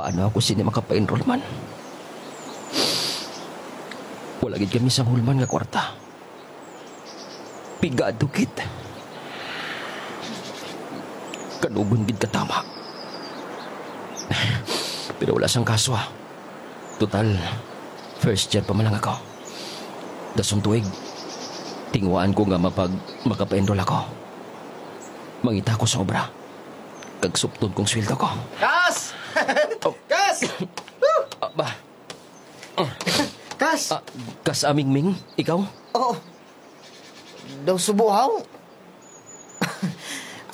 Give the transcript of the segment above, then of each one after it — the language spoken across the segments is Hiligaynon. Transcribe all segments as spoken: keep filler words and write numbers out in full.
Ano ako sini makapa-enroll man? Wala gid kami sang hulman nga kwarta. Pigado gid. Kanugon gid katama. Pero wala sang kaso, ah. Total, first year pa man lang ako. Dasong tuig, tinguhaan ko nga mapag-, makapa-enroll ako. Mangita ako sa obra. Kag supton kong sweldo ko. Kas! Oh. Kas! Ah, ba? Kas! Ah, Kas Amingming, ikaw? Oo. Daw subuhaw?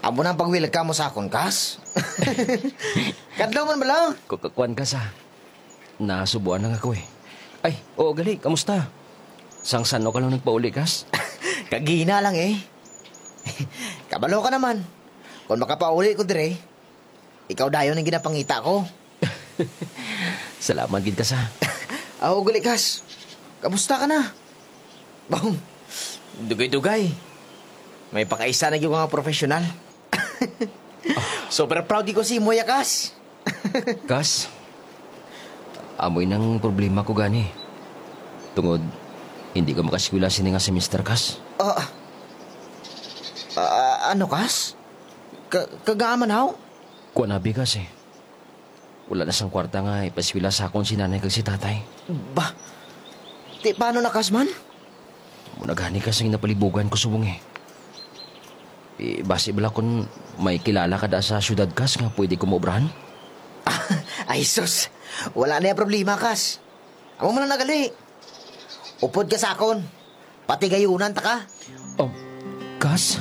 Amo na ang pag-welcome mo sa akon, Kas? Kadlaw man bala? Ku-, ku-, kuwan, Kas, ah. Nasubuan lang ako, eh. Ay, oo, gali, kamusta? Sang san-o ka lang nagpauli, Kas? Kagina lang, eh. Kabalo ka naman. Kung makapauli ko dire, ikaw dayon ang ginapangita ko. Salamat gid, Kas, ah. Aw, gali, Kas. Kamusta ka na? Bang, dugay-dugay. May pakaisa na gyud nga professional. Super proud ko si imo, ya, Kas. Kas, amoy nang problema ko gani. Tungod, hindi ko makaskwela sini nga semester, Kas. Ah, ah, ano, Kas? Ka-, kagaaman, haw? Kuan abi, Kas, eh. Wala na sang kwarta nga ipaskwela sa akon si nanay kag si tatay. Ba? Ti paano na, Kas, man? Amo na gani, Kas, ang napalibugan ko subong, eh. Eh, basi bala kung may kilala ka da sa syudad, Kas, nga pwede ko maobrahan? Ay, sus. Wala na yung problema, Kas. Amo man lang na gali. Upod ka sa akon. Patigayunan ta ka. Um, Kas?